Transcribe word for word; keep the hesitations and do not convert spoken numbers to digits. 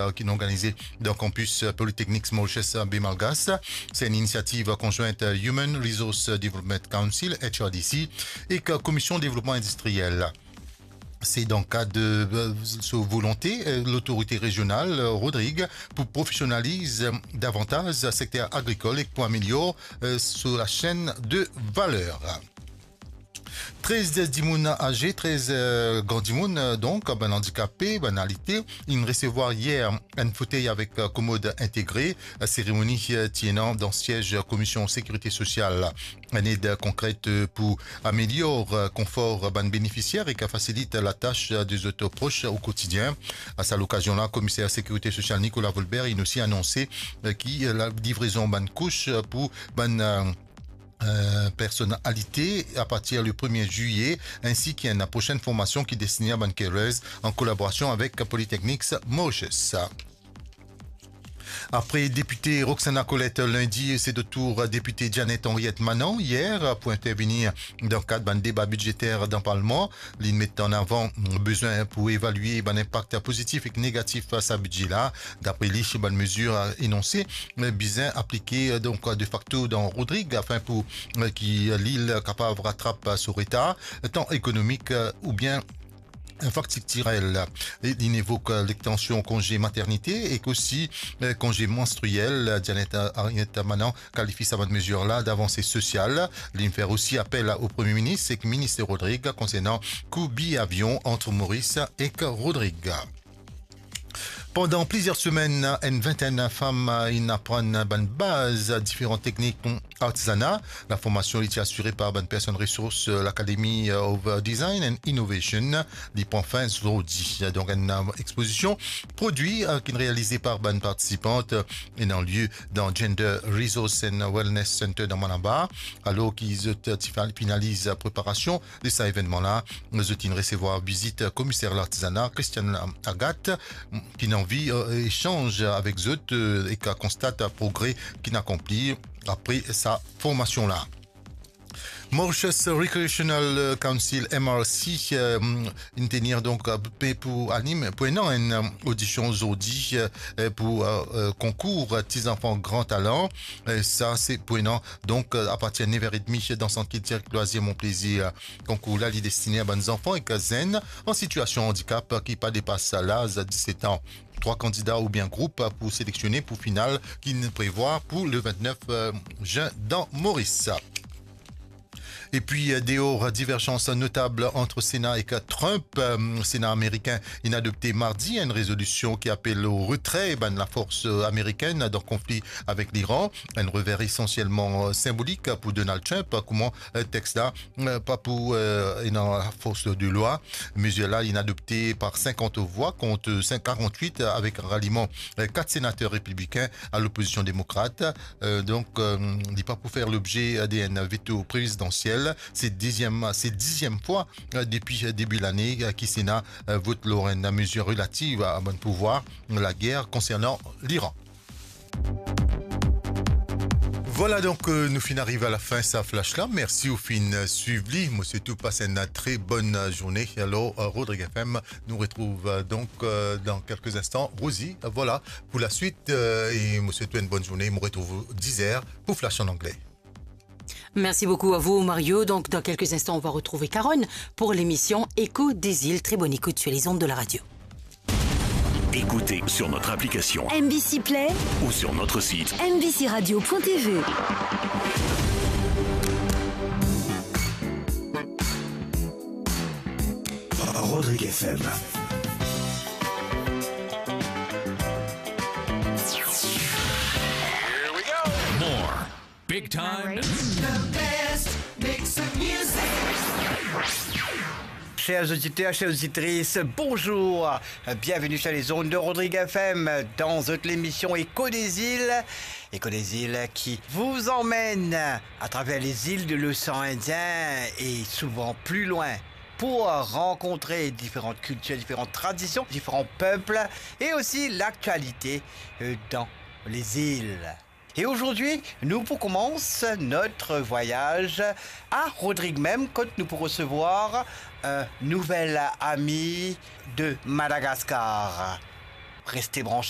euh, ki inn organize dan kanpis, euh, Polytechnics Mauritius, euh, Baie Malgache. Se enn inisiativ konzwint, euh, Human Resource Development Council, H R D C, ek, euh, Komisyon Devlopman Indistriyel. Se dan kad, euh, so volonte, euh, lotorite rezional, euh, Rodrig, pou profesionaliz, euh, davantaz sekter agrikol ek pou amelior, euh, so lasenn de valer. Trez dimoun aze, trez, euh, gran dimoun, euh, donk, bann andikape, bann alite, inn resevwar yer enn fotey avek, euh, komod integre. Seremoni, euh, ti ena dan siez Komisyon Sekirite Sosial. Enn ed konkret, euh, pou amelior, euh, konfor bann benefisier ek fasilit latas, euh, de zot pros o kotidien. A sa lokazion la, Komiser Sekirite Sosial Nicolas Volbert inn osi anonse, euh, ki, euh, lalivrezon bann kous, euh, pou bann, euh, euh, personalite apartir le premie zilye, ensi ki enn prosenn formasion ki destine a bann carers an kolaborasion avek Polytechnics Mauritius. Apre depite Roxana Colette lindi, se tour depite Janet Henriette Manant yer pou intervenir dan kad bann deba bidzeter dan Parlman. Li met an avan bezwin pou evalie bann inpak pozitif ek negatif sa bidze la. Dapre li, bann mezir enonse bizin aplike, donk, de facto dan Rodrig afin pou ki lil kapav ratrap so retar, tan ekonomik oubien infrastriktirel. Li inn evok lextansion konze maternite ek osi konze manstriyel. Janet Henriette Manant kalifie sa bann mezir la davanse sosial. Li fer osi apel o Premie Minis ek Minis Rodrig konsernan kou biye avion ant Moris ek Rodrig. Pandan plizier semenn, enn vintenn fam inn aprann bann baz diferan teknik artizana. Laformasion li ti asire par bann personn resours L'Academy of Design and Innovation. Li pran fin zordi. Donk, enn expozision prodwi ki inn realize par bann partisipant ena lie dan Gender Resource and Wellness Center dan Malabar. Alor ki zot ti finaliz preparasion de sa evennman la, zot inn resevwar vizit Komiser Lartizana, Christiane Agathe, ki inn anvi esanz avek zot ek konstat progre ki inn akonpli apre sa formasion la. Mauritius Recreational Council, M R C, inn tenir donk pe pou anim pou ena enn odision zordi pou konkour Ti Zanfan Gran Talan. Sa se pou ena donk apartir nev er edmi dan Sant Kiltir Loizir Mon Plezir. Konkour la li destine a bann zanfan ek zenn an sitiasion andikap ki pa depas laz diset an. Trwa kandida oubien group pou seleksionnen pou final ki inn prevwar pou le vintnef zin dan Moris. Epi, deor diverzans notab ant Sena ek Trump, Sena amerikin inn adopte mardi enn rezolision ki apel o retre bann lafors amerikenn dan konfli avek Liran, enn rever esansielman sinbolik pou Donald Trump, kouma text la pa pou ena fors de lwa. Mezir la inn adopte par sinkant vwa kont karant-wit avek raliman kat senater repiblikin a lopozision demokrat. Donk, li pa pou fer lobze de enn veto prezidansiel. Se diziem, se diziem fwa depi debi lane ki Sena vot lor enn mezir relativ a bann pouvwar, lager konsernan Liran. Vwala, donk, nou finn ariv a lafin sa flash la. Mersi ou finn swiv li. Mo swet ou pas enn tre bonn zourne. Alor, Rodrig F M, nou retrouv donk dan kelke instan Rosie. Vwala pou laswit, e mo swet ou enn bonn zourne. Mo retrouv ou diz er pou Flash an angle. Merci beaucoup à vous, Mario. Donc, dans quelques instants, on va retrouver Carole pour l'émission Écho des îles. Très bonne écoute sur les ondes de la radio. Écoutez sur notre application M B C Play ou sur notre site M B C radio point T V. Rodrig F M. More big time. The best mix of music. Chers auditeurs, chères auditrices, bonjour. Bienvenue sur les ondes de Rodrig F M dans votre émission Écho des îles. Écho des îles qui vous emmène à travers les îles de l'océan Indien et souvent plus loin pour rencontrer différentes cultures, différentes traditions, différents peuples et aussi l'actualité, euh, dans les îles. Et aujourd'hui, nou pou koumans notre voyage à Rodrig mem, kot nou pou resevwar un nouvel ami de Madagascar. Restez branchés.